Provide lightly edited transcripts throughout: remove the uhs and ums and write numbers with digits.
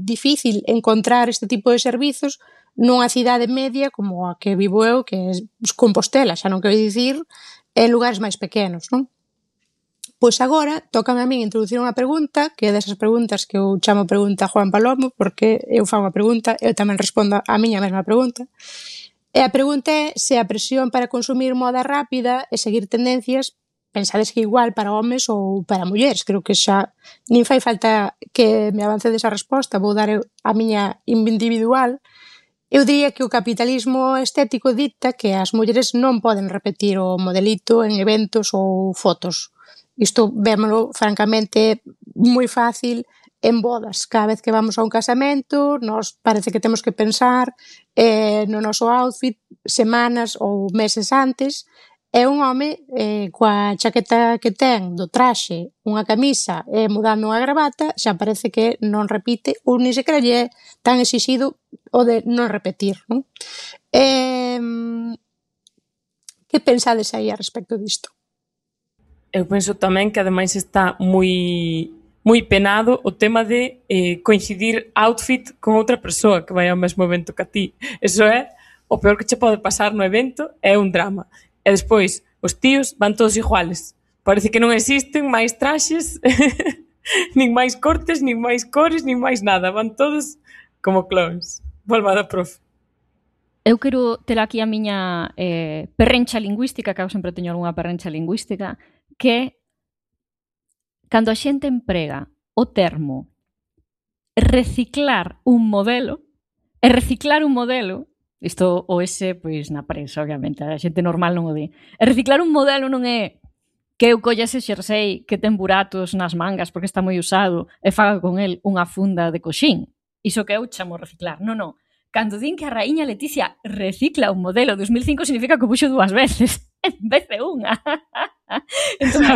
difícil encontrar este tipo de servizos nunha cidade media como a que vivo eu, que é Compostela, xa non quero dicir en lugares máis pequenos, non? Pois agora tócame a min introducir unha pregunta, que é desas preguntas que eu chamo pregunta Juan Palomo, porque eu fago unha pregunta, eu tamén respondo a miña mesma pregunta. E a pregunta é se a presión para consumir moda rápida e seguir tendencias pensades que igual para homes ou para mulleres. Creo que xa nin fai falta que me avance desa resposta, vou dar a miña individual. Eu diría que o capitalismo estético dicta que as mulleres non poden repetir o modelito en eventos ou fotos. Isto vémolo, francamente, moi fácil en bodas. Cada vez que vamos a un casamento, nos parece que temos que pensar no noso outfit semanas ou meses antes. É un home coa chaqueta que ten do traxe, unha camisa e mudando unha gravata, xa parece que non repite ou ni sequera lle é tan exixido o de non repetir, non? Que pensades aí a respecto disto? Eu penso tamén que ademais está moi penado o tema de coincidir outfit con outra persoa que vai ao mesmo evento que a ti. Eso é o peor que che pode pasar no evento, é un drama. E despois, os tíos van todos iguales. Parece que non existen máis traxes, nin máis cortes, nin máis cores, nin máis nada. Van todos como clones. Volva da profe. Eu quero ter aquí a miña perrencha lingüística, que eu sempre teño algunha perrencha lingüística, que é cando a xente emprega o termo reciclar un modelo, e reciclar un modelo, isto o ese, pois na prensa, obviamente, a xente normal non o di, e reciclar un modelo non é que eu colla ese xersei que ten buratos nas mangas porque está moi usado e faga con el unha funda de coxín. Iso que eu chamo reciclar. Non, non. Cando din que a raíña Leticia recicla un modelo 2005 significa que o puxo 2 veces en vez de unha. Entón,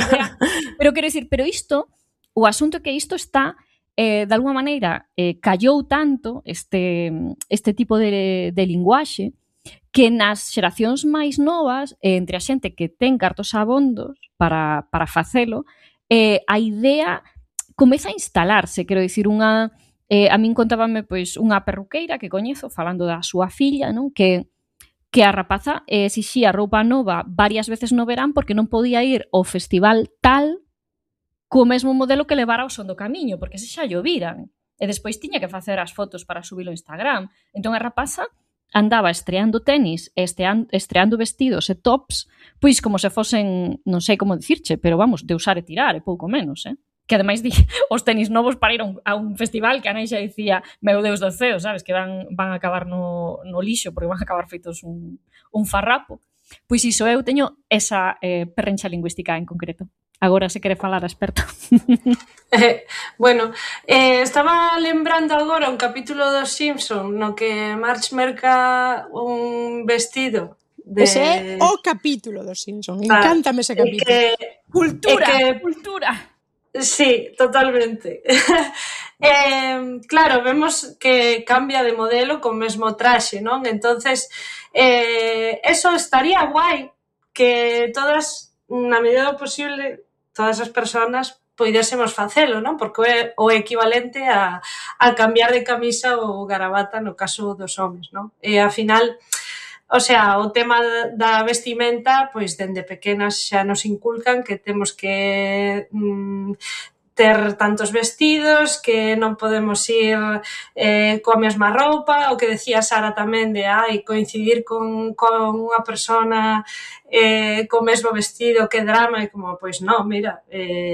pero quero dicir, pero isto, o asunto é que isto está de alguma maneira callou tanto este tipo de linguaxe que nas xeracións máis novas, entre a xente que ten cartos abondos para facelo, a idea comeza a instalarse, quero dicir, a min contábame pois unha perruqueira que coñezo falando da súa filla, non? Que a rapaza exixía roupa nova varias veces no verán porque non podía ir ao festival tal co mesmo modelo que levara ao son do camiño, porque se xa llo viran. E despois tiña que facer as fotos para subilo ao Instagram. Entón a rapaza andaba estreando tenis, estreando vestidos e tops, pois como se fosen, non sei como dicirche, pero vamos, de usar e tirar, e pouco menos, Que ademais os tenis novos para ir a un festival que a nai xa dicía, meu Deus do ceo, sabes, que van a acabar no lixo, porque van a acabar feitos un farrapo. Pois iso, eu teño esa perrencha lingüística en concreto. Agora se quere falar a experta. Bueno, estaba lembrando agora un capítulo dos Simpson no que Marge merca un vestido de... Ese é o capítulo dos Simpson. Encántame ese capítulo. Cultura. Sí, totalmente. Claro, vemos que cambia de modelo co mesmo traxe, non? Entonces, eso estaría guai que todas, na medida do posible, todas as persoas poidésemos facelo, non? Porque é o equivalente a cambiar de camisa ou gravata no caso dos homes, non? E, ao final, o sea, o tema da vestimenta, pois, dende pequenas xa nos inculcan que temos que ter tantos vestidos, que non podemos ir coa mesma roupa, o que decía Sara tamén de coincidir con unha persona co mesmo vestido, que drama, e como, pois non, mira,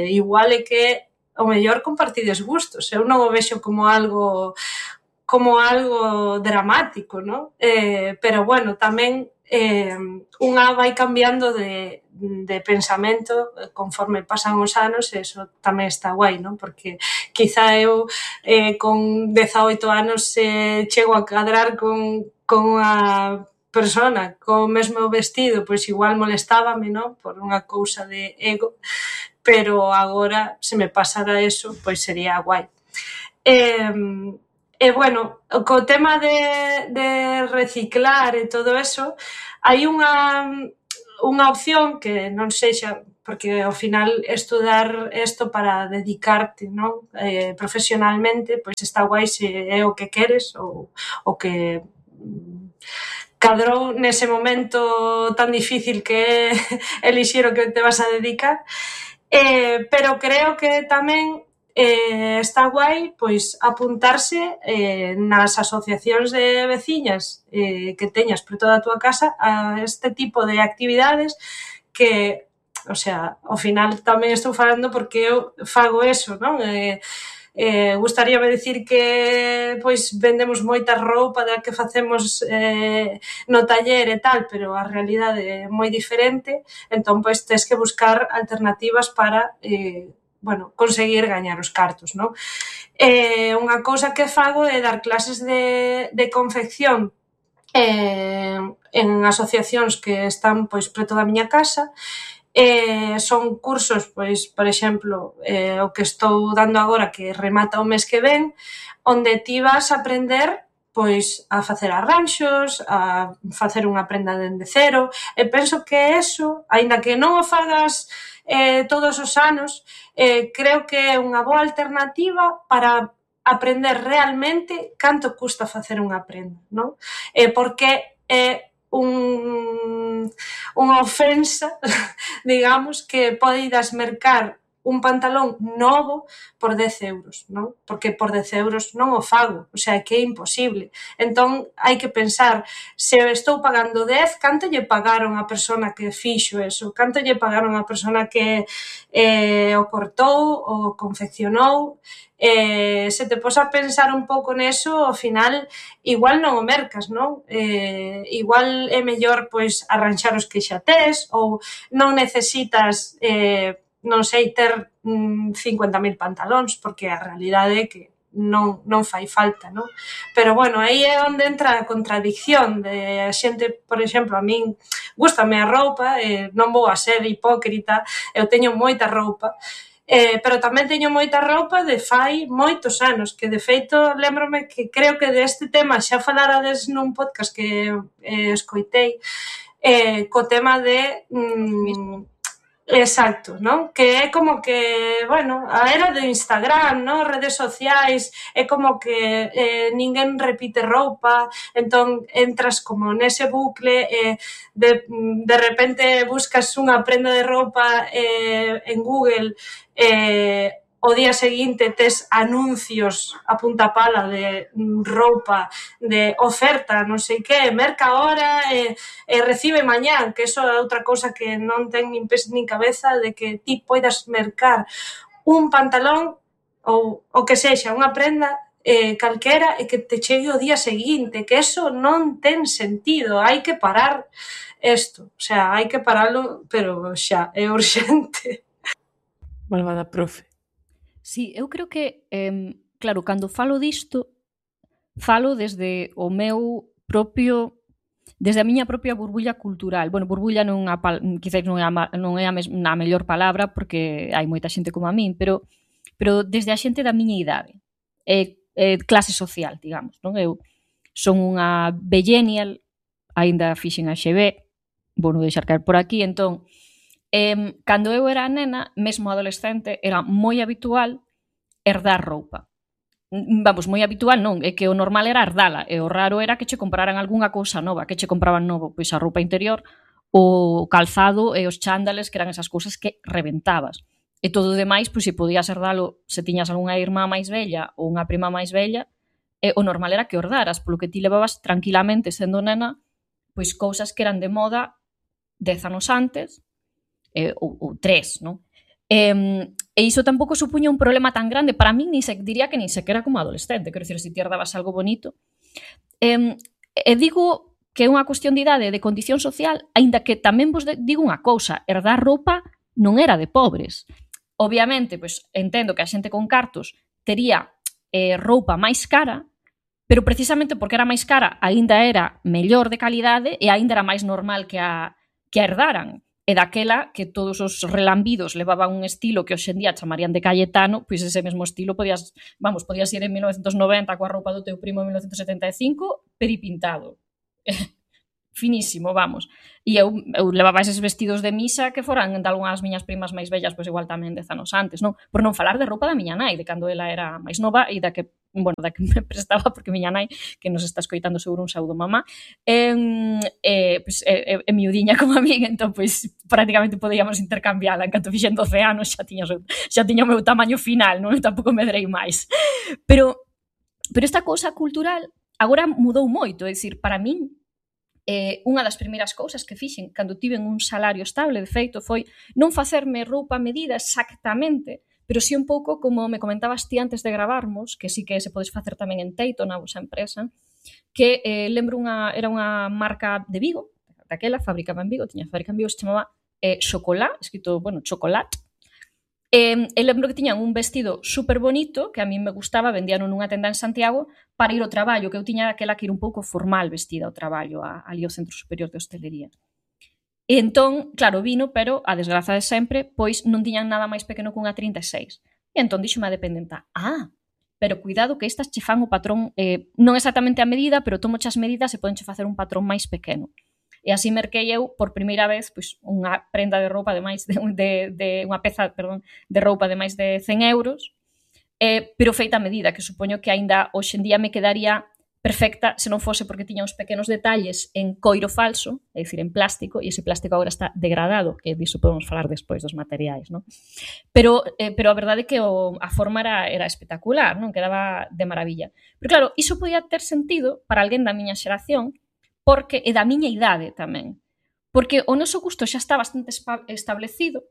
igual é que o mellor compartides gustos, eu non o vexo como algo dramático, non? Pero bueno, tamén unha vai cambiando de pensamento conforme pasan os anos, e eso tamén está guai, non? Porque quizá eu con 18 anos chego a cadrar con unha persona co mesmo vestido, pois igual molestábame, non? Por unha cousa de ego, pero agora se me pasara eso, pois sería guai. E bueno, co tema de reciclar e todo eso, hai unha opción que non sei xa, porque ao final estudar isto para dedicarte, non? Profesionalmente, pois está guai se é o que queres ou o que cadrou nese momento tan difícil que é elixir o que te vas a dedicar, pero creo que tamén está guai pois apuntarse nas asociacións de veciñas que teñas por toda a túa casa a este tipo de actividades que, o sea, ao final tamén estou falando porque eu fago eso, non? Gustaríame dicir que pois vendemos moita roupa da que facemos no taller e tal, pero a realidade é moi diferente, entón pois tes que buscar alternativas para bueno, conseguir gañar os cartos, non? Unha cousa que fago é dar clases de confección en asociacións que están pois preto da miña casa. Son cursos, pois, por exemplo, o que estou dando agora que remata o mes que ven, onde ti vas a aprender pois a facer arranxos, a facer unha prenda dende cero, e penso que eso, aínda que non o fagas todos os anos, creo que é unha boa alternativa para aprender realmente canto custa facer unha prenda, non? Porque é unha ofensa, digamos, que poidas mercar un pantalón novo por 10 euros, non? Porque por 10 euros non o fago, o sea, que é imposible. Entón, hai que pensar, se estou pagando 10, canto lle pagaron a persona que fixo eso? Canto lle pagaron a persona que o cortou, o confeccionou? Se te pos a pensar un pouco neso, ao final, igual non o mercas, non? Igual é mellor, pois, arranxar os que xa tes, ou non necesitas non sei, ter 50.000 pantalóns, porque a realidade é que non fai falta, non? Pero, bueno, aí é onde entra a contradicción de a xente, por exemplo, a min gústame a roupa, non vou a ser hipócrita, eu teño moita roupa, pero tamén teño moita roupa de fai moitos anos, que de feito lembrome que creo que deste tema xa falarades nun podcast que escoitei, co tema de... Exacto, non? Que é como que, bueno, a era do Instagram, non? Redes sociais, é como que ninguén repite roupa, entón entras como nese bucle e de repente buscas unha prenda de roupa en Google o día seguinte tes anuncios a punta pala de roupa, de oferta, non sei que, merca ahora e recibe mañán, que eso é outra cousa que non ten nin pés nin cabeza, de que ti poidas mercar un pantalón ou o que sexa, unha prenda calquera e que te chegue o día seguinte, que eso non ten sentido, hai que parar isto, o sea, hai que paralo, pero xa, é urxente. Malvada profe. Sí, eu creo que, claro, cando falo disto, falo desde o meu propio, desde a miña propia burbulla cultural. Bueno, burbulla quizás non é a mellor palabra, porque hai moita xente como a min, pero desde a xente da miña idade, clase social, digamos, non? Eu son unha vellenial, aínda fixen a XB, vou non deixar caer por aquí, entón, cando eu era nena, mesmo adolescente, era moi habitual herdar roupa. Vamos, moi habitual non, é que o normal era herdala, e o raro era que che compraran algunha cousa nova, que che compraban novo, pois a roupa interior, o calzado e os chándales, que eran esas cousas que reventabas. E todo o demais, pois se podías herdalo, se tiñas algunha irmá máis vella ou unha prima máis vella, o normal era que herdaras, polo que ti levabas tranquilamente, sendo nena, pois cousas que eran de moda 10 anos antes, ou 3, non? E iso tampouco supuña un problema tan grande para min, diría que nin sequera como adolescente, quero dicir, se ti herdabas algo bonito. E digo que é unha cuestión de idade, de condición social, aínda que tamén vos digo unha cousa, herdar roupa non era de pobres. Obviamente, pois, entendo que a xente con cartos tería roupa máis cara, pero precisamente porque era máis cara, aínda era mellor de calidade e aínda era máis normal que a herdaran. E daquela que todos os relambidos levaban un estilo que hoxendía chamarían de Cayetano, pois ese mesmo estilo podías ir en 1990 coa roupa do teu primo en 1975 peripintado. finísimo, vamos. E eu levaba eses vestidos de misa que foran de algunhas miñas primas máis vellas, pois igual tamén 10 anos antes, non? Por non falar de roupa da miña nai, de cando ela era máis nova e da que me prestaba, porque miña nai, que nos está escoitando seguro, un saúdo mamá, pois, é miudiña como a min, entón, pois, prácticamente podíamos intercambiala. En canto fixen 12 anos xa tiña o meu tamaño final, non? Tampouco medrei máis. Pero esta cousa cultural agora mudou moito, é dicir, para min, unha das primeiras cousas que fixen cando tiven un salario estable, de feito, foi non facerme roupa a medida exactamente, pero sí un pouco como me comentabas ti antes de gravarmos, que sí que se podes facer tamén en Teito, na vosa empresa, que lembro era unha marca de Vigo, daquela, fabricaba en Vigo, tiña fábrica en Vigo, se chamaba Chocolá, escrito, Chocolat. Lembro que tiñan un vestido super bonito, que a mí me gustaba, vendían nunha tenda en Santiago, para ir ao traballo, que eu tiña aquela que ir un pouco formal vestida ao traballo, ali ao Centro Superior de Hostelería. E entón, claro, vino, pero a desgraza de sempre, pois non tiñan nada máis pequeno que unha 36. E entón dixome a dependenta, pero cuidado que estas che fan o patrón, non exactamente a medida, pero tomo as medidas e podenche facer un patrón máis pequeno. E así merquei eu, por primeira vez, pois, unha prenda de roupa de máis unha peza, de roupa de máis de 100 euros, pero feita a medida, que supoño que aínda hoxe en día me quedaría perfecta se non fose porque tiña uns pequenos detalles en coiro falso, é dicir, en plástico, e ese plástico agora está degradado, que disso podemos falar despois dos materiais, non? Pero a verdade é que a forma era espectacular, non? Quedaba de maravilla. Pero claro, iso podía ter sentido para alguén da miña xeración, porque é da miña idade tamén. Porque o noso gusto xa está bastante establecido.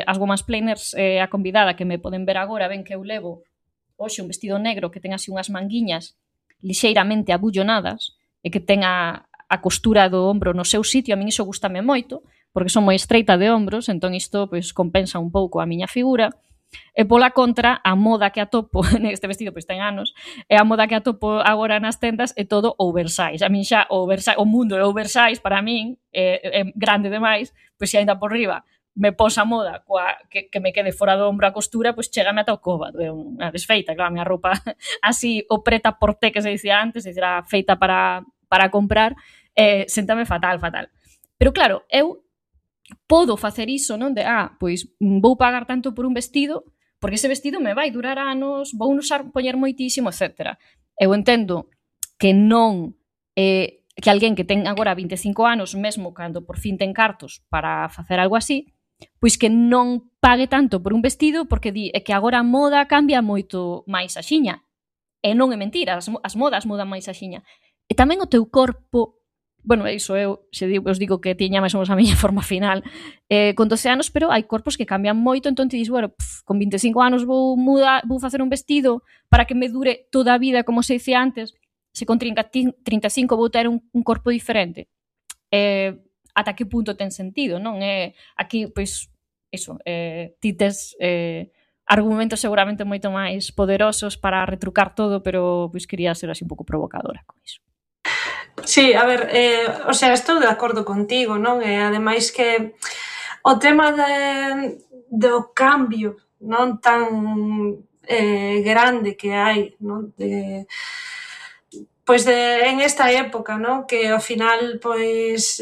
As gomas planers, a convidada que me poden ver agora, ven que eu levo hoxe un vestido negro que ten así unhas manguiñas lixeiramente abullonadas e que ten a costura do ombro no seu sitio. A min iso gustame moito, porque son moi estreita de ombros, entón isto pois compensa un pouco a miña figura. E pola contra, a moda que atopo neste vestido, pois ten anos, e a moda que atopo agora nas tendas é todo oversize. A min xa o mundo é oversize para min, é grande demais, pois se ainda por riba me posa a moda que me quede fora do ombro a costura, pois chégame ata o cóbado, é unha desfeita, claro, a miña roupa así, o preta por té que se dicía antes, era feita para comprar, séntame fatal. Pero claro, eu podo facer iso, non? Pois vou pagar tanto por un vestido, porque ese vestido me vai durar anos, vou usar, poñer moitísimo, etc. Eu entendo que non que alguén que ten agora 25 anos, mesmo cando por fin ten cartos para facer algo así, pois que non pague tanto por un vestido, porque di que agora a moda cambia moito máis axiña. E non é mentira, as modas mudan máis axiña. E tamén o teu corpo, iso eu os digo que tiña máis ou menos a miña forma final con 12 anos, pero hai corpos que cambian moito, entón te dis, con 25 anos vou facer un vestido para que me dure toda a vida, como se dicía antes, se con 35 vou ter un corpo diferente. Ata que punto ten sentido, non? Aquí, pois, iso, ti tes argumentos seguramente moito máis poderosos para retrucar todo, pero pois quería ser así un pouco provocadora con iso. Sí, a ver, estou de acordo contigo, non? E ademais que o tema do cambio non tan grande que hai, non? Pois en esta época, non? Que ao final, pois,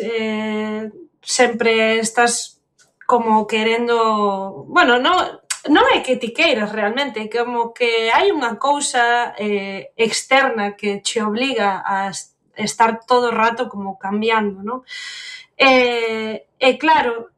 sempre estás como querendo... non é que ti queiras realmente, como que hai unha cousa externa que che obliga a estar todo o rato como cambiando, non? E claro,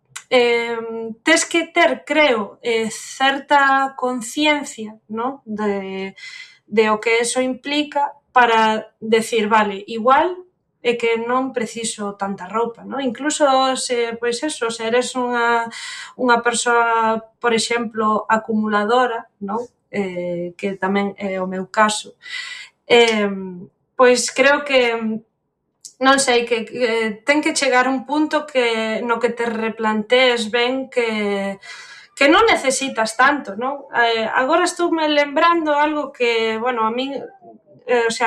tes que ter, creo, certa conciencia, non? De o que eso implica para decir, vale, igual é que non preciso tanta roupa, non? Incluso se, pois eso, se eres unha persoa, por exemplo, acumuladora, non? Que tamén é o meu caso, pois creo que non sei, que ten que chegar un punto no que te replantees ben que non necesitas tanto, non? Agora estoume lembrando algo que, a min,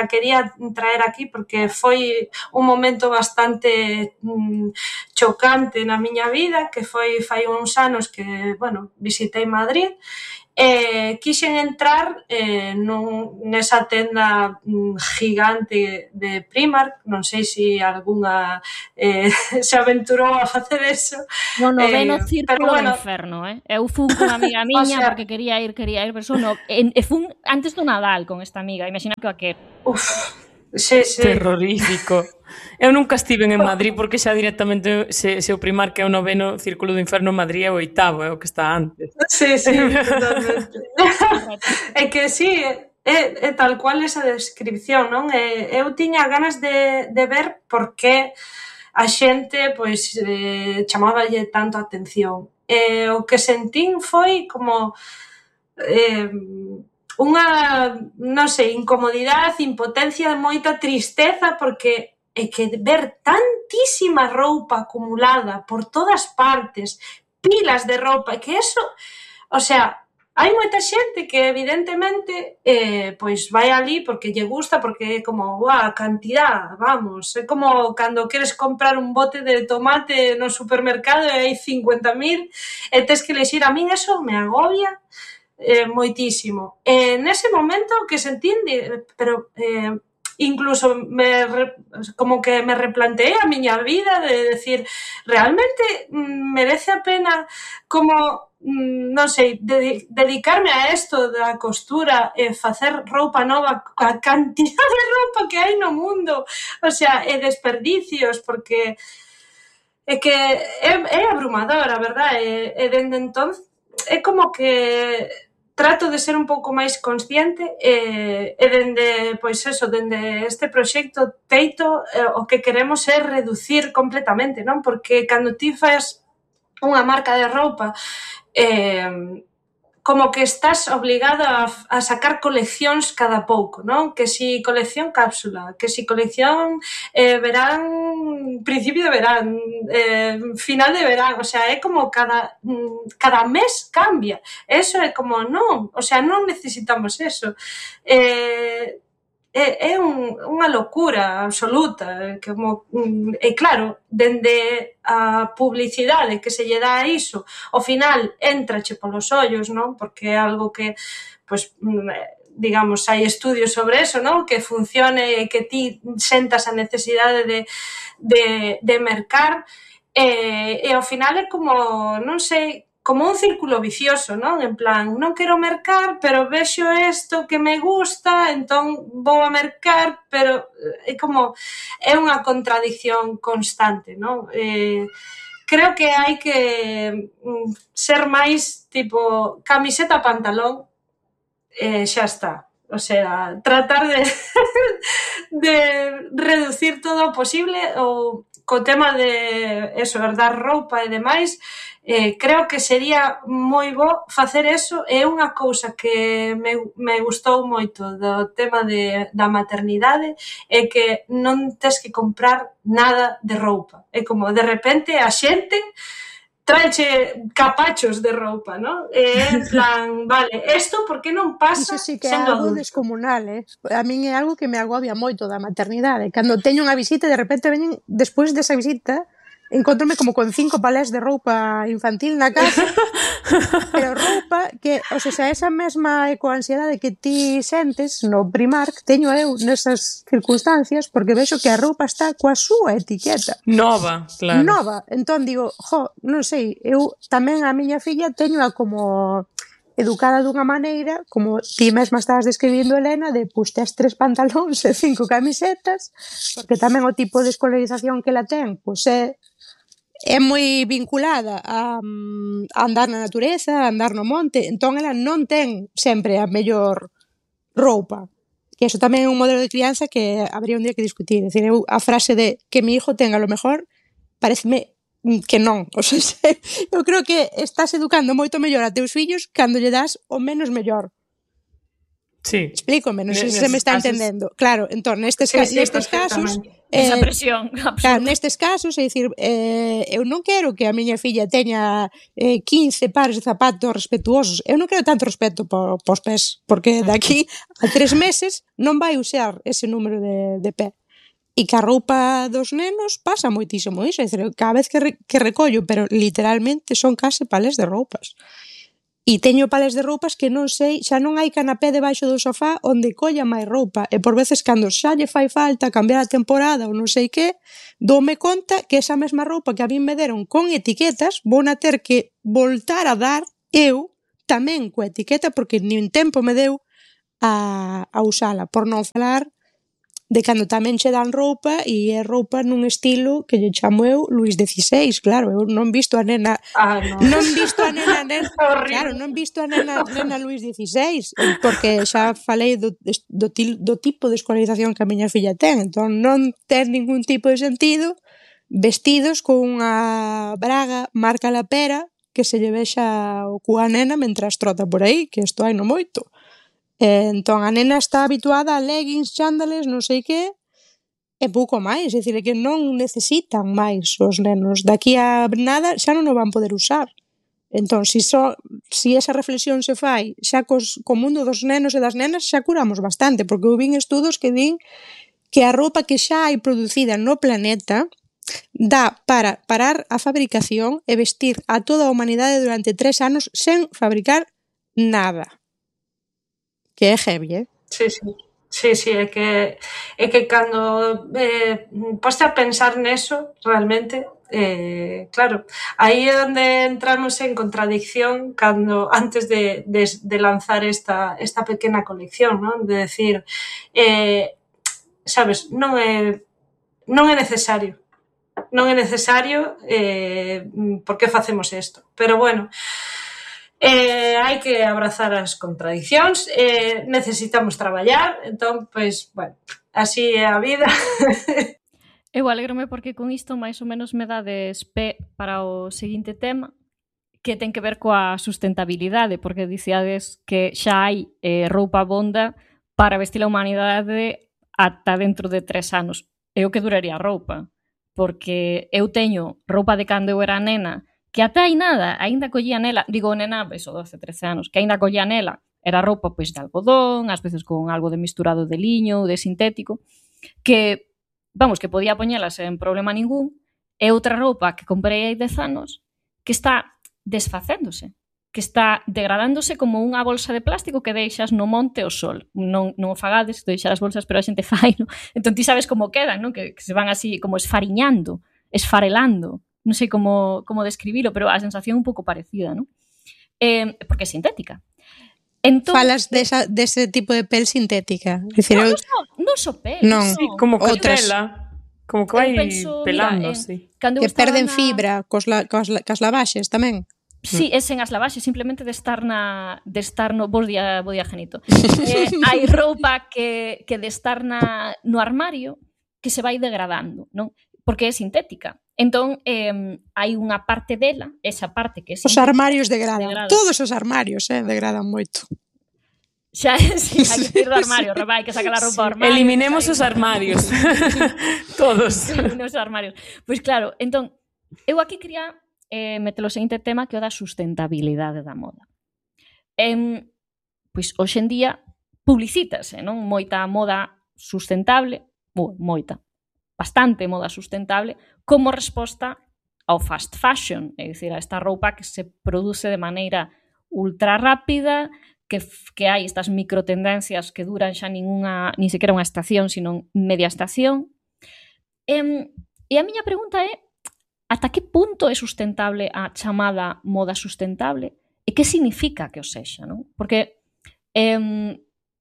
quería traer aquí porque foi un momento bastante chocante na miña vida, que foi fai uns anos que, visitei Madrid quixen entrar nesa tenda gigante de Primark, non sei se algunha se aventurou a facer eso. No noveno círculo bueno, do inferno, Eu fun con amiga miña porque quería ir, pero e fun antes do Nadal con esta amiga, imagina que a que. Sí. Terrorífico. Eu nunca estiven en Madrid porque xa directamente se o Primark é o noveno círculo do inferno, Madrid é o 8º, é o que está antes. Sí, totalmente. É que sí, é tal cual esa descripción, non? Eu tiña ganas de ver por que a xente pois chamáballe tanto a atención. O que sentín foi como unha, non sei, incomodidade, impotencia, moita tristeza, porque é que ver tantísima roupa acumulada por todas partes, pilas de roupa, que eso, o sea, hai moita xente que evidentemente pois vai ali porque lle gusta, porque é como, a cantidad, vamos, é como cando queres comprar un bote de tomate no supermercado e hai 50.000 e tes que lexir. A min eso me agobia moitísimo. Nese momento que sentín, pero incluso como que me replanteei a miña vida de decir, realmente merece a pena como, non sei, dedicarme a isto da costura e facer roupa nova, a cantidad de roupa que hai no mundo, o sea, e desperdicios, porque é que é abrumador, a verdade, e dende entón é como que trato de ser un pouco máis consciente e dende, pois eso, dende este proxecto Teito, o que queremos é reducir completamente, non? Porque cando ti faz unha marca de roupa, como que estás obligado a sacar coleccións cada pouco, non? Que si colección cápsula, que si colección verán, principio de verán, final de verán, o sea, é como cada mes cambia. Eso é como, non, o sea, non necesitamos eso. É unha locura absoluta, como, e claro, dende a publicidade que se lle dá a iso, ao final entrache polos ollos, non? Porque é algo que, pois, digamos, hai estudios sobre eso, non? Que funcione e que ti sentas a necesidade de mercar, e ao final é como, non sei, como un círculo vicioso, non? En plan, non quero mercar, pero vexo isto que me gusta, entón vou a mercar, pero é como, é unha contradicción constante, non? Creo que hai que ser máis tipo camiseta, pantalón, xa está. O sea, tratar de reducir todo o posible, ou co tema de eso, herdar roupa e demais, creo que sería moi bo facer eso. É unha cousa que me gustou moito do tema da maternidade, é que non tes que comprar nada de roupa. É como, de repente, a xente traeche capachos de roupa, non? En plan, vale, isto por que non pasa sí que é sendo algo adulto? descomunal, A min é algo que me agobia moito da maternidade. Cando teño unha visita, de repente veñen, despois desa visita, encontrome como con 5 palés de roupa infantil na casa, pero roupa que, o sea, esa mesma ecoansiedade que ti sentes no Primark, teño eu nesas circunstancias, porque vexo que a roupa está coa súa etiqueta. Nova, claro. Nova. Entón digo, non sei, eu tamén a miña filla teñoa como educada dunha maneira, como ti mesma estabas describindo, Elena, de pois tes 3 pantalóns e 5 camisetas, porque tamén o tipo de escolarización que ela ten, pois é moi vinculada a andar na natureza, a andar no monte, entón ela non ten sempre a mellor roupa. Que eso tamén é un modelo de crianza que habría un día que discutir. É dicir, a frase de que mi hijo tenga lo mejor, pareceme que non. O sea, eu creo que estás educando moito mellor a teus fillos cando lle das o menos mellor. Sí. Explícome, non sei se me está entendendo. Claro, entón, nestes casos... esa presión, claro, nestes casos, é dicir, eu non quero que a miña filla teña 15 pares de zapatos respetuosos. Eu non quero tanto respeto pos pés, porque daqui a 3 meses non vai usar ese número de pé. E que a roupa dos nenos pasa moitísimo iso. É dicir, cada vez que recollo, pero literalmente son case palés de roupas. E teño palés de roupas que non sei, xa non hai canapé debaixo do sofá onde colla máis roupa. E por veces cando xa lle fai falta cambiar a temporada ou non sei que, doume conta que esa mesma roupa que a min me deron con etiquetas, vou na ter que voltar a dar eu tamén coa etiqueta porque nin tempo me deu a usala, por non falar de cando tamén che dan roupa e é roupa nun estilo que lle chamo eu Luís XVI, claro, eu non visto a nena non visto a nena claro, non visto a nena Luís XVI porque xa falei do tipo de escolarización que a miña filla ten, entón non ten ningún tipo de sentido vestidos con unha braga marca la pera que se lle vexa o cu a nena mentras trota por aí, que isto hai no moito. Entón a nena está habituada a leggings, chándales, non sei que, e pouco máis, é dicir, que non necesitan máis os nenos. Daqui a nada xa non o van poder usar. Entón, si esa reflexión se fai xa co mundo dos nenos e das nenas, xa curamos bastante, porque eu vin estudos que din que a roupa que xa hai producida no planeta dá para parar a fabricación e vestir a toda a humanidade durante 3 anos sen fabricar nada. Que é heavy, Sí, é que cando poste a pensar neso, realmente, claro, aí é onde entramos en contradicción cando antes de lanzar esta pequena colección, non? De decir, sabes, non é necesario. Non é necesario, por que facemos isto? Pero bueno, hai que abrazar as contradicións, necesitamos traballar, entón, pois, bueno, así é a vida. Eu alegrome porque con isto máis ou menos me dades pé para o seguinte tema, que ten que ver coa sustentabilidade, porque dicíades que xa hai roupa bonda para vestir a humanidade ata dentro de 3 anos. É o que duraría a roupa, porque eu teño roupa de cando eu era nena que ata hai nada, aínda collía nela, digo nena, eso, 12, 13 anos, que aínda collía nela, era roupa pois de algodón, ás veces con algo de misturado de liño ou de sintético, que, vamos, que podía poñelas en problema ningún, e outra roupa que comprei hai 10 anos que está desfacéndose, que está degradándose como unha bolsa de plástico que deixas no monte ao sol. Non o fagades, deixar as bolsas, pero a xente fai, non? Entón ti sabes como quedan, non? Que se van así como esfariñando, esfarelando, non sei como describilo, pero a sensación é un pouco parecida, non? Porque é sintética. Entón, falas dese tipo de pel sintética. Non só pel. Non, sí, como que pela. Como que vai pelando, sí. Que perden fibra cos lavaxes tamén. Sí, é sen as lavaxes, simplemente de estar no vos día Genito. Hai roupa que de estar no armario que se vai degradando, non? Porque é sintética. Entón, hai unha parte dela, esa parte que é sintética. Os armarios degradan. Todos os armarios degradan moito. Xa, sí, hai que ir do armario, hai que sacar a roupa do armario. Eliminemos os armarios. Todos. Eliminemos os armarios. Pois claro, entón, eu aquí quería meter o seguinte tema que é o da sustentabilidade da moda. Pois hoxe en día publicítase, non? Moita moda sustentable, bastante moda sustentable, como resposta ao fast fashion, é dicir, a esta roupa que se produce de maneira ultra rápida, que hai estas microtendencias que duran xa nin sequera unha estación, sino media estación. E a miña pregunta é, ata que punto é sustentable a chamada moda sustentable e que significa que o sexa, non? Porque,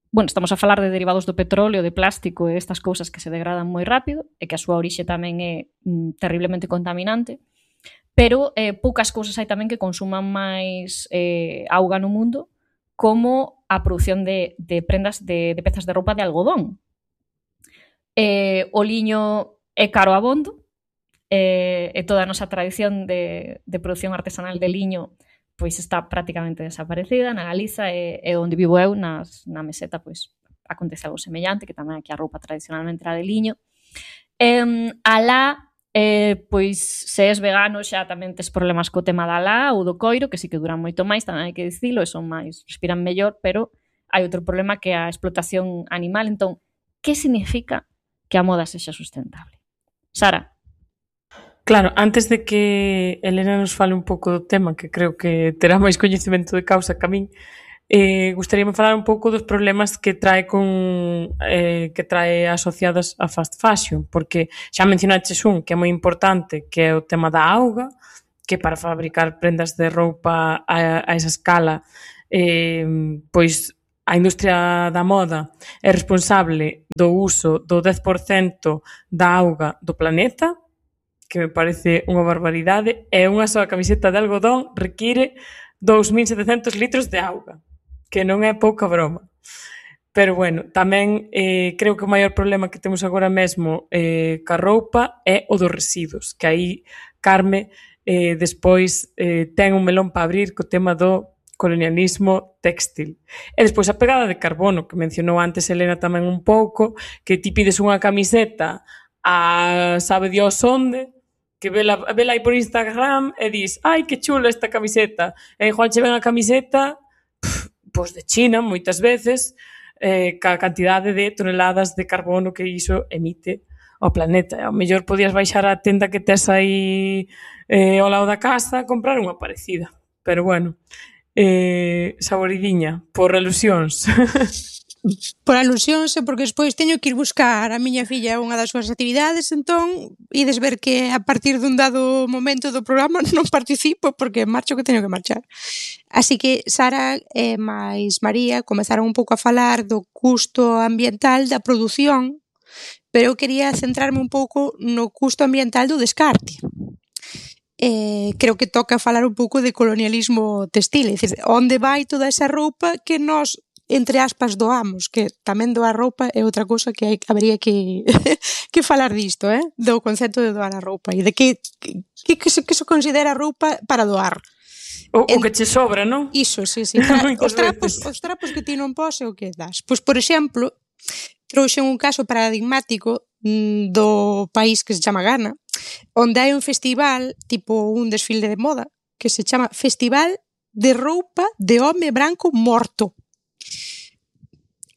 estamos a falar de derivados do petróleo, de plástico e estas cousas que se degradan moi rápido e que a súa orixe tamén é terriblemente contaminante, pero poucas cousas hai tamén que consuman máis auga no mundo, como a produción de prendas de pezas de roupa de algodón. O liño é caro abondo, e toda a nosa tradición de produción artesanal de liño pois está prácticamente desaparecida. Na Galiza e onde vivo eu, na Meseta, pois acontece algo semellante, que tamén aquí a roupa tradicionalmente era de liño. Alá, pois se és vegano xa tamén tes problemas co tema da lã ou do coiro, que sí que duran moito máis, tamén hai que dicilo, e son máis, respiran mellor, pero hai outro problema que é a explotación animal. Entón, que significa que a moda sexa sustentable? Sara? Claro, antes de que Elena nos fale un pouco do tema, que creo que terá máis coñecemento de causa que a min, gustaríame falar un pouco dos problemas que trae que trae asociadas a fast fashion, porque xa mencionaches un que é moi importante, que é o tema da auga, que para fabricar prendas de roupa a esa escala, pois a industria da moda é responsable do uso do 10% da auga do planeta, que me parece unha barbaridade, e unha soa camiseta de algodón require 2.700 litros de auga, que non é pouca broma. Pero bueno, tamén creo que o maior problema que temos agora mesmo ca roupa é o dos residuos, que aí Carme despois ten un melón para abrir co tema do colonialismo textil. E despois a pegada de carbono, que mencionou antes Elena tamén un pouco, que ti pides unha camiseta a sabe Dios onde, que vela aí por Instagram e dis, ai, que chula esta camiseta. E igual che ven a camiseta pois de China, moitas veces, ca cantidade de toneladas de carbono que iso emite ao planeta. Ao mellor podías baixar á tenda que tes aí ao lado da casa a comprar unha parecida. Pero bueno, saboridiña, por alusións. Por alusións e porque despois teño que ir buscar a miña filla unha das súas actividades, entón ides ver que a partir dun dado momento do programa non participo porque marcho que teño que marchar. Así que Sara e máis María comezaron un pouco a falar do custo ambiental da produción, pero eu quería centrarme un pouco no custo ambiental do descarte. Creo que toca falar un pouco de colonialismo textil, é dicir, onde vai toda esa roupa que nós entre aspas doamos, que tamén doar roupa é outra cousa que habería que que falar disto, do concepto de doar a roupa e de que se considera roupa para doar. O que che sobra, non? Iso, sí. Os trapos que ti non pos é o que das. Pois, por exemplo, trouxen un caso paradigmático do país que se chama Ghana, onde hai un festival, tipo un desfile de moda, que se chama Festival de Roupa de Home Branco Morto.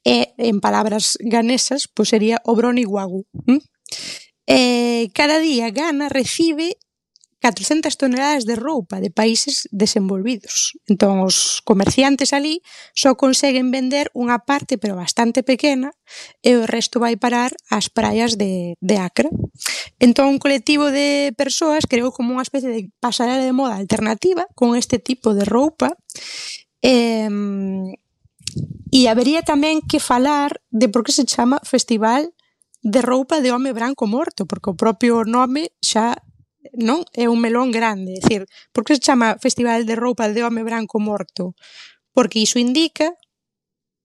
E, en palabras ganesas, pois sería o Broni Wagu. Cada día Ghana recibe 400 toneladas de roupa de países desenvolvidos. Entón, os comerciantes ali só conseguen vender unha parte, pero bastante pequena, e o resto vai parar ás praias de Accra. Entón, un colectivo de persoas creou como unha especie de pasarela de moda alternativa con este tipo de roupa. E habería tamén que falar de por que se chama Festival de Roupa de Home Branco Morto, porque o propio nome xa non é un melón grande. É dicir, por que se chama Festival de Roupa de Home Branco Morto? Porque iso indica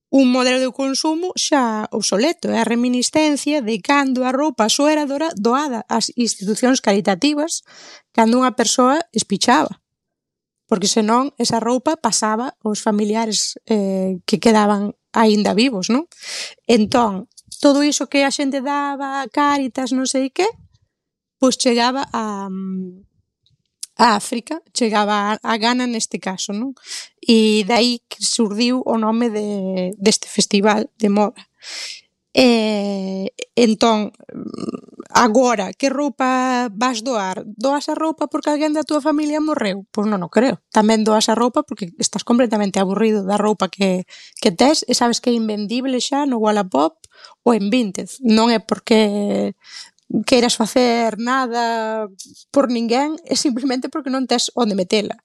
un modelo de consumo xa obsoleto, é a reminiscencia de cando a roupa só era doada ás institucións caritativas cando unha persoa espichaba. Porque senón esa roupa pasaba aos familiares que quedaban aínda vivos, non? Entón, todo iso que a xente daba a Cáritas, non sei que, pois chegaba a África, chegaba a Ghana neste caso, non? E dai que surdiu o nome deste festival de moda. Entón, agora, que roupa vas doar? Doas a roupa porque alguén da túa familia morreu? Pois non o creo. Tamén doas a roupa porque estás completamente aburrido da roupa que tes e sabes que é invendible xa no Wallapop ou en Vinted. Non é porque queiras facer nada por ninguén, é simplemente porque non tes onde metela.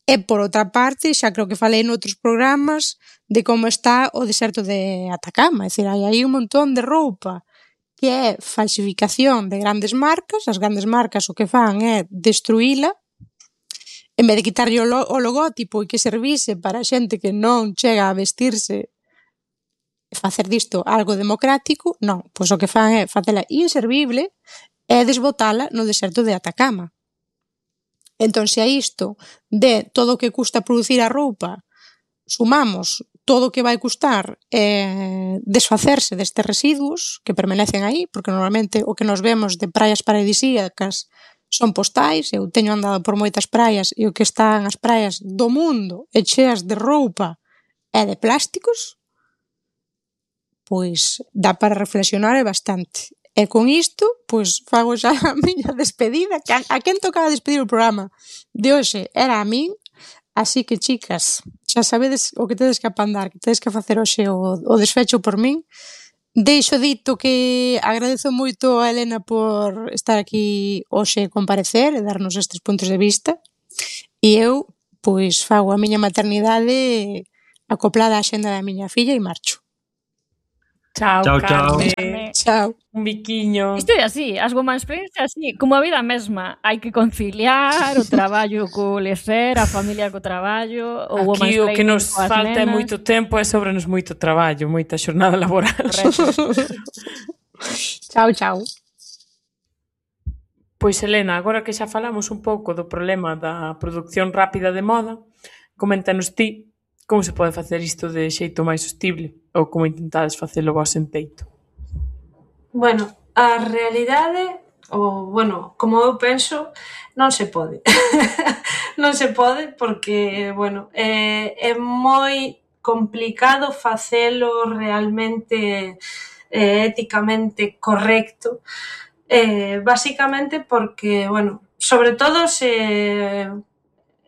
E, por outra parte, xa creo que falei noutros programas de como está o deserto de Atacama. É dicir, hai aí un montón de roupa que é falsificación de grandes marcas. As grandes marcas o que fan é destruíla, en vez de quitarlle o logótipo e que servise para xente que non chega a vestirse e facer disto algo democrático, non. Pois o que fan é facela inservible e desbotala no deserto de Atacama. Entón, se a isto de todo o que custa producir a roupa sumamos todo o que vai custar desfacerse destes residuos que permanecen aí, porque normalmente o que nos vemos de praias paradisíacas son postais. Eu teño andado por moitas praias e o que están as praias do mundo e cheas de roupa e de plásticos, pois dá para reflexionar bastante. E con isto, pois, fago xa a miña despedida. A quen tocaba despedir o programa de hoxe era a min, así que, chicas, xa sabedes o que tedes que apandar, que tedes que facer hoxe o desfecho por min. Deixo dito que agradezo moito a Elena por estar aquí hoxe e comparecer e darnos estes puntos de vista. E eu, pois, fago a miña maternidade acoplada á xenda da miña filla e marcho. Chao, Chao, Carme. Chao. Un biquiño. Isto é así, as womansplains é así, como a vida mesma. Hai que conciliar o traballo co lecer, a familia co traballo, o Aquí o que womansplaining nos coas falta é nenas. moito tempo e sobrenos moito traballo, moita xornada laboral. Correcto. Chao, chao. Pois, Helena, agora que xa falamos un pouco do problema da produción rápida de moda, coméntanos ti como se pode facer isto de xeito máis sostible ou como intentades facelo vos en Teito. Bueno, a realidade, como eu penso, non se pode. Non se pode porque, é moi complicado facelo realmente éticamente correcto. Basicamente porque, sobre todo se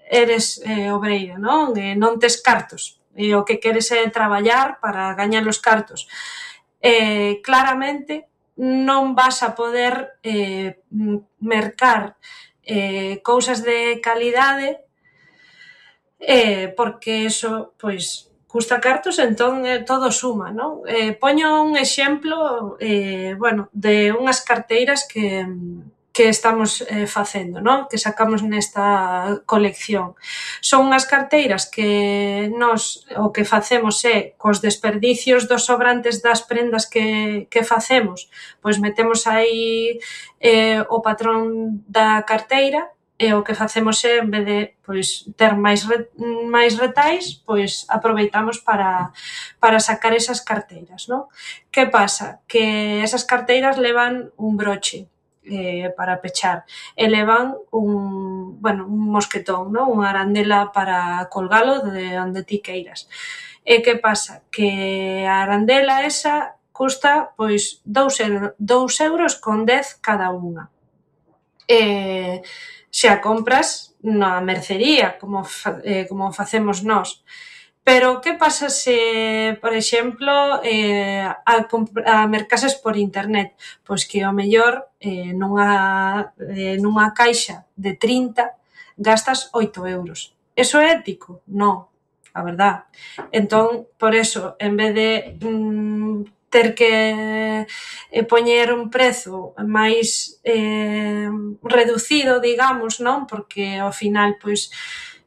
eres obreira, non? Non tes cartos e o que queres é traballar para gañar os cartos. Claramente non vas a poder mercar cousas de calidade porque eso, pois, custa cartos, entón todo suma, non? Poño un exemplo, de unhas carteiras que estamos facendo, non? Que sacamos nesta colección. Son unhas carteiras que nós o que facemos é cos desperdicios dos sobrantes das prendas que facemos, pois metemos aí o patrón da carteira e o que facemos é, en vez de ter máis retais, pois aproveitamos para sacar esas carteiras, non? Que pasa? Que esas carteiras levan un broche para pechar e levan un mosquetón, non? Unha arandela para colgalo de onde ti queiras. E que pasa? Que a arandela esa custa pois 2,10 € cada unha. Se a compras na mercería, como facemos nós. Pero que pasa se, por exemplo, a mercases por internet? Pois que ao mellor nunha caixa de 30 gastas 8 €. Eso é ético? Non, a verdad. Entón, por eso, en vez de ter que poñer un prezo máis reducido, digamos, non? Porque ao final, pois,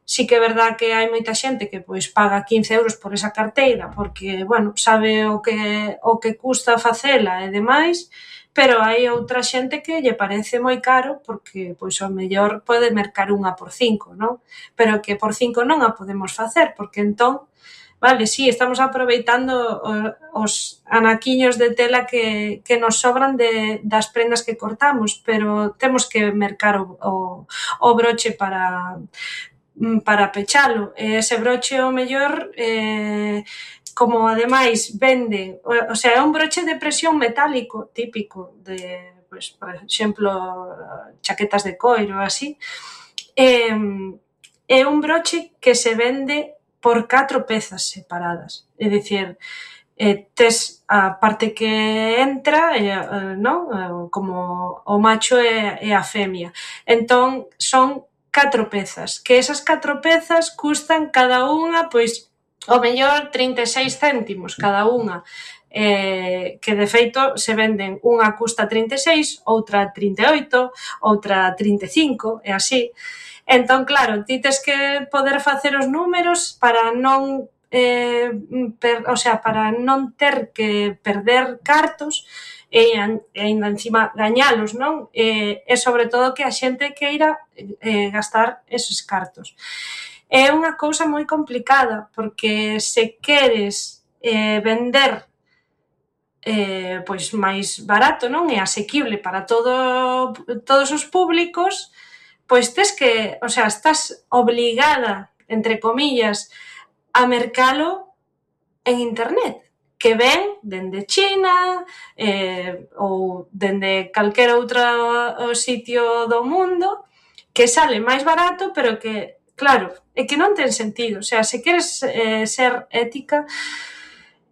sí que é verdad que hai moita xente que pois paga 15 € por esa carteira porque, sabe o que custa facela e demais, pero hai outra xente que lle parece moi caro porque, pois, ao mellor pode mercar unha por 5, non? Pero que por 5 non a podemos facer porque entón, vale, sí, estamos aproveitando os anaquiños de tela que nos sobran das prendas que cortamos, pero temos que mercar o broche para pechalo. E ese broche, o mellor, como ademais vende, o sea, é un broche de presión metálico típico de, pois, por exemplo, chaquetas de coiro, así. É un broche que se vende por 4 pezas separadas. É dicir, tes a parte que entra, non? Como o macho e a femia. Entón, son 4 pezas, que esas 4 pezas custan cada unha, pois, ao mellor 36 céntimos cada unha, que de feito se venden, unha custa 36, outra 38, outra 35, e así. Entón, claro, ti tes que poder facer os números para non para non ter que perder cartos e ainda encima gañalos, non? E sobre todo que a xente queira gastar esos cartos. É unha cousa moi complicada porque se queres vender pois máis barato, non? E asequible para todos os públicos, pois tes que, estás obligada, entre comillas, a mercalo en internet. que ven dende China ou dende calquera outro sitio do mundo, que sale máis barato, pero que, claro, é que non ten sentido. O sea, se queres ser ética,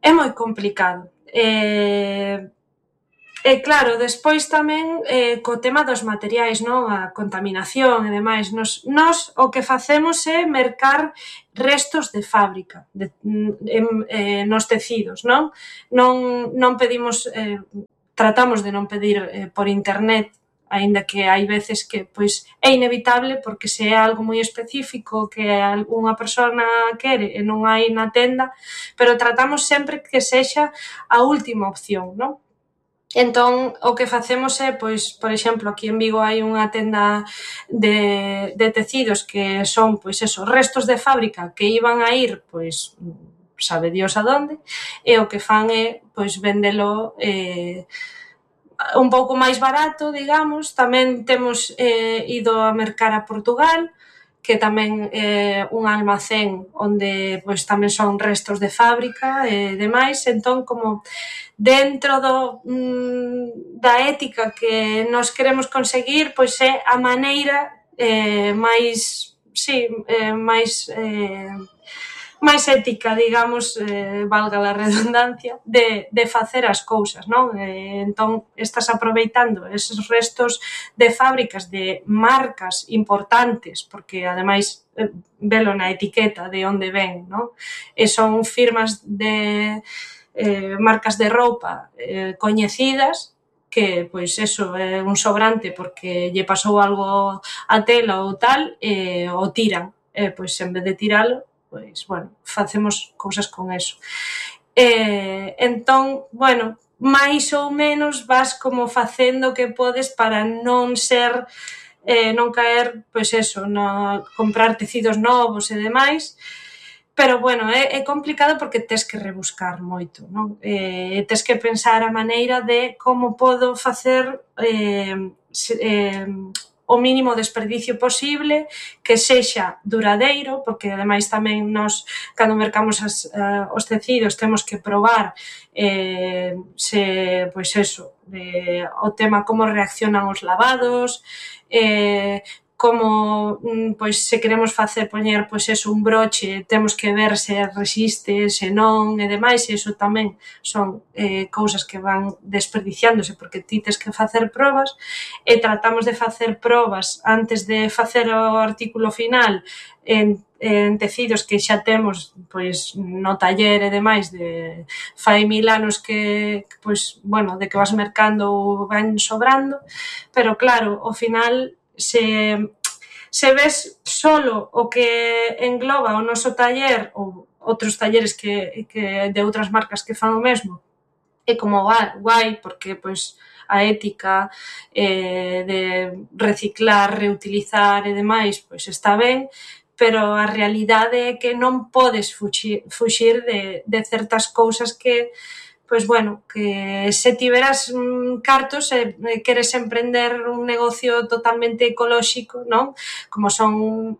é moi complicado. E claro, despois tamén co tema dos materiais, non? A contaminación e demais. Nos o que facemos é mercar restos de fábrica nos tecidos, non? Non pedimos, tratamos de non pedir por internet, aínda que hai veces que pois é inevitable porque se é algo moi específico que algunha persona quere e non hai na tenda, pero tratamos sempre que sexa a última opción, non? Entón, o que facemos é, pois, por exemplo, aquí en Vigo hai unha tenda de tecidos que son, pois, eso, restos de fábrica que iban a ir, pois, sabe Dios a donde, e o que fan é, pois, vendelo un pouco máis barato, digamos. Tamén temos ido a mercar a Portugal, que tamén é un almacén onde pois tamén son restos de fábrica e demais. Entón, como dentro da ética que nos queremos conseguir, pois é a maneira máis, sí, máis ética, digamos, valga a redundancia, de facer as cousas, non? Entón, estás aproveitando eses restos de fábricas de marcas importantes, porque, ademais, velo na etiqueta de onde ven, non? E son firmas de marcas de roupa coñecidas, que, pois, eso, é un sobrante porque lle pasou algo a tela ou tal, e o tiran. E, pois, en vez de tiralo, pois, bueno, facemos cousas con eso. Entón, bueno, máis ou menos vas como facendo o que podes para non ser, non caer, pois eso, no comprar tecidos novos e demais, pero, bueno, é complicado porque tes que rebuscar moito, non? Tes que pensar a maneira de como podo facer o mínimo desperdicio posible, que sexa duradeiro, porque ademais tamén nos, cando mercamos os tecidos, temos que probar se, pois eso, o tema como reaccionan os lavados, como, pois, se queremos poñer, pois eso, un broche, temos que ver se resiste, se non, e demais, e iso tamén son cousas que van desperdiciándose porque ti tes que facer probas, e tratamos de facer probas antes de facer o artículo final en tecidos que xa temos, pois, no taller e demais de fai 1000 anos que, pois, bueno, de que vas mercando ou van sobrando, pero claro, ao final, se ves solo o que engloba o noso taller ou outros talleres que de outras marcas que fan o mesmo, é como guai, porque pois a ética de reciclar, reutilizar e demais, pois está ben, pero a realidade é que non podes fuxir de certas cousas que, pois, bueno, que se tiveras cartos e queres emprender un negocio totalmente ecolóxico, non? Como son